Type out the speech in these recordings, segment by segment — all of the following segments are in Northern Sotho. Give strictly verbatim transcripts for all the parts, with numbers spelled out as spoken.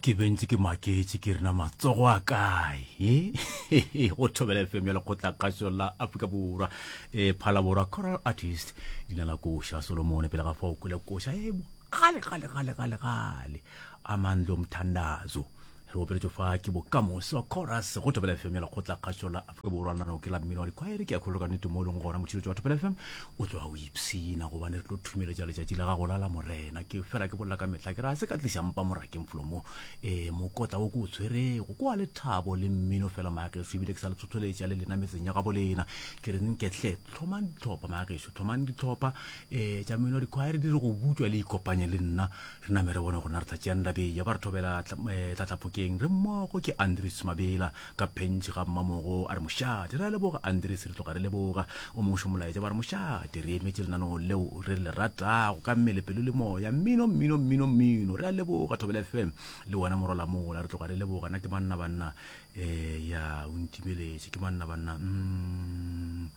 Ke be ntše ke maketše ke re na matsogo a kae e go Thobela F M ya Lekgotlakgašo la Afrika Borwa. E Phalaborwa Choral Artist, leina la koša Solomone. Pele ga fao kwele koša e gale gale gale gale gale, Amandla Mthandazo, re opeletšwe fa ke Bokamoso Chorus go Thobela F M ya Lekgotlakgašo la Afrika Borwa. Lenaneo ke la mmino wa dikhwaere. Ke a kgolo ka nnete mo e leng gona motšhiretšo wa Thobela F M o tloga o ipshina, gobane re tlo thumeletša letšatši la gago la la Morena. Ke fela ke bolela ka mehla ke re a se ka tliša mpa morakeng folo mo um mokotla wo ke o tshwerego ko wa lethabo le mmino fela maagešo, ebile ke sa le tlhotlholetša le lena metseng ya gabo lena. Ke re nketle tlhomang ditlhopha maagešo, tlhomang ditlhopha um tša mmino wa dikhwaere, di re go butšwa le ikopanye le nna, re name re bone gona re tla tšeang dabeya. Ba re thobela Tlatlapokeng, re mmogo. Ke Andres Mabela ka Pentšhe ga Mmamogo, a re mošate. Re a leboga Andres, re tloga re leboga. O mongwe molaetša, ba re mošate, re emetše lenaneo leo re le ratago ka mmele, pelo le moya, mmino, mmino, mmino, mmino. Re a leboga Thobela F M le wena morola mola, re tloga re leboga. Na ke manna banna um ya o ntimeletše, ke manna banna mm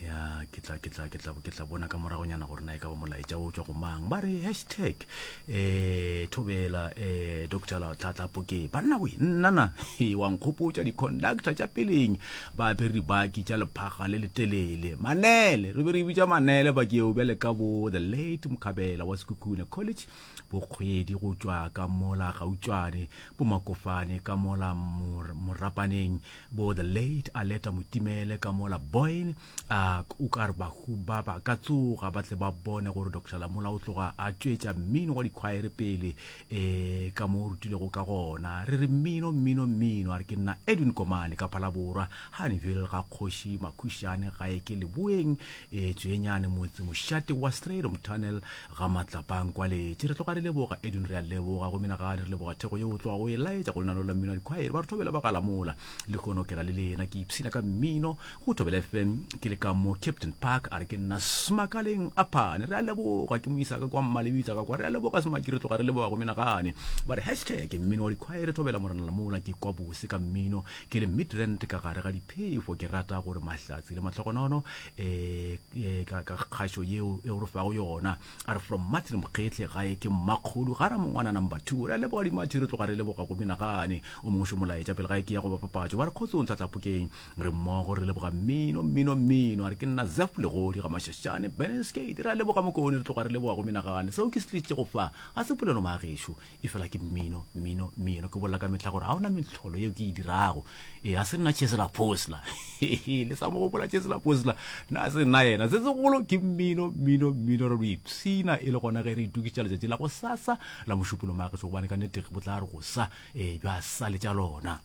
ya ke tla ke tla ke tla ke tla bona ka moragonyana gore na e ka ba molaetša o tswa go mang. Ba re hashtag eh thobela eh Doctor Tlatlapokeng. Banna we, nnana wa nkgopotša di-conductor tša peleng ba apere dibaki tša lephaga le letelele, manele, re be re bitša manele baki eo. Bjale ka bo the late Mokhabela wa Sekhukhune College, bokgwedi go tšwa ka mola Gautšwane, bo Makofane ka mola Morapaneng, bo the late Aleta Motimele ka mola Boyne, a o ka re bahu ba ba ka tsoga ba tle ba bone gore Doctor Lamola o tloga a tšwetša mmino wa dikhwaere pele um ka mo o rutilego ka gona. Re re mmino, mmino, mmino. A re ke nna Edwin Komane ka Phalaborwa, Honeyville, ga Kgoši Makhušane, gae ke Leboeng um Tswenyane, motse mošate wa Stradom Tunnel, ga Matlapang Kwaletše. Re tloga re leboga Edwin, re a leboga go menagane, re leboga theko yeo o tloga go e laetša go lenaneo la mmino wa dikhwaere. Ba re thobela ba Galamola le konokela le lena, ke ipshina ka mmino go Thobela F M ke le ka mo Captain Park. A re ke nna Smakaleng Aphane. Re a leboga, ke moisa ka kwa Mmalebitsa ka kwa. Re a leboga Smaki, re tloga re leboga go menagane. Ba re hashtag mmino wa dikhwaere, thobela Morena Lamola, ke kwa bose ka mmino ke le Midrand ka gare ga diphefo. Ke rata gore mahlatsi le mahlogonono um ka kgašo yeo e re fago yona. A re from Martin Mokgetle, gae ke Mmakgolo ga ra mongwana number two. Re a leboga Dimathi, re tloga re leboga go menagane. O mongwe šo molaetša pele gae ke ya go bapapatšo, ba re kgotsong Tlatlapokeng, re mmogo, re leboga mmino, mmino, mmino. A re ke nna Zef Legodi ga Mašašane Beneskate. Re a leboga Mokone, re tloga re leboga go menagane. Seo ke se tlišitše go fa ga se polelo maagešo, e fela ke mmino, mmino, mmino. Ke bolela ka mehla gore ga ona metlholo yeo ke e dirago, e a se nna Chesela Posla, le sa mo gopola Chesela Posla, na se nna yena. Se segolo ke mmino, mmino, mmino. Re lo ipshina e le gona ge re itokišetša letšatši la go sasa la Mošupolo maagešo, gobane ka nnete bo tla re go sa um bja sa letša lona.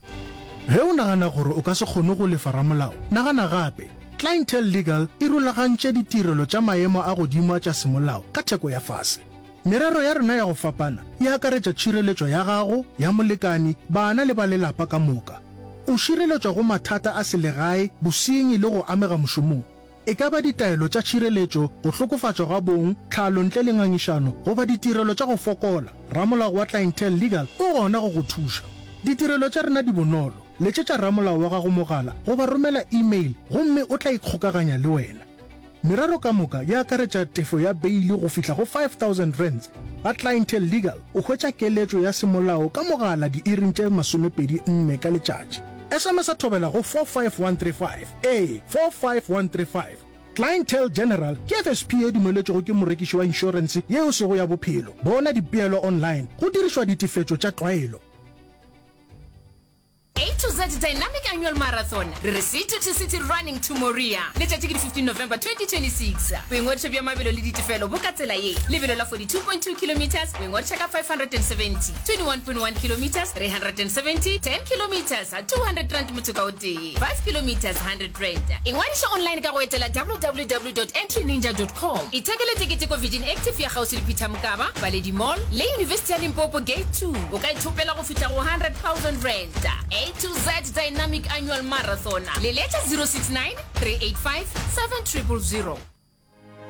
Ge o nagana gore o ka se kgone go lefa ramolao, nagana gape. Clientele Legal e rulagantše ditirelo tša maemo a godimo tša semolao ka theko ya fase. Merero ya rena ya go fapana e akaretša tšhireletšo ya gago, ya molekani, bana le ba lelapa ka moka. O šireletšwa go mathata a selegae, bosenyi le go amega mošomong. E ka ba ditaelo tša tšhireletšo, go hlokofatšwa ga bong, tlhalo ntle le ngangišano, goba ditirelo tša go fokola, ramolao wa Clientele Legal o gona go go thuša. Ditirelo tša rena di bonolo. Letšetša ramolao wa gago mogala goba romela email gomme o tla ikgokaganya le wena. Merero ka moka e akaretša tefo ya beili go fihla go five thousand rands. Ga Clientele Legal o hwetša keletšo ya semolao ka mogala diiring tše masomepedi nne ka letšatši. S M S a thobela go four five one three five, ee, four five one three five. Clientele General ke F S P e dumeletšwego ke morekiši wa inšorense yeo sego ya bophelo. Bona dipeelo online go dirišwa ditefetšo tša tlwaelo. A to Z Dynamic Annual Marathon, re re City to City Running to Moria, letšatši ke di fifteen November twenty twenty-six. Boingwadišo bja mabelo le ditefelo bo ka tsela ye: lebelo la forty-two point two kilometers o ingwadiša ka five hundred and seventy, twenty-one point one kilometers three hundred and seventy, ten kilometers two hundred rand motho ka o tee, five kilometers hundred rand. Ingwadiša online ka go etela W W W dot entryninja dot com. Ithekele tekete ko Virgin Active ya kgauswi le Peter Mokaba, Paledi Mall le University ya Limpopo Gate two. O ka ithopela go fihla go hundred thousand rand. A to Z Dynamic Annual Marathon, leletša zero six nine three eight five seven zero zero zero.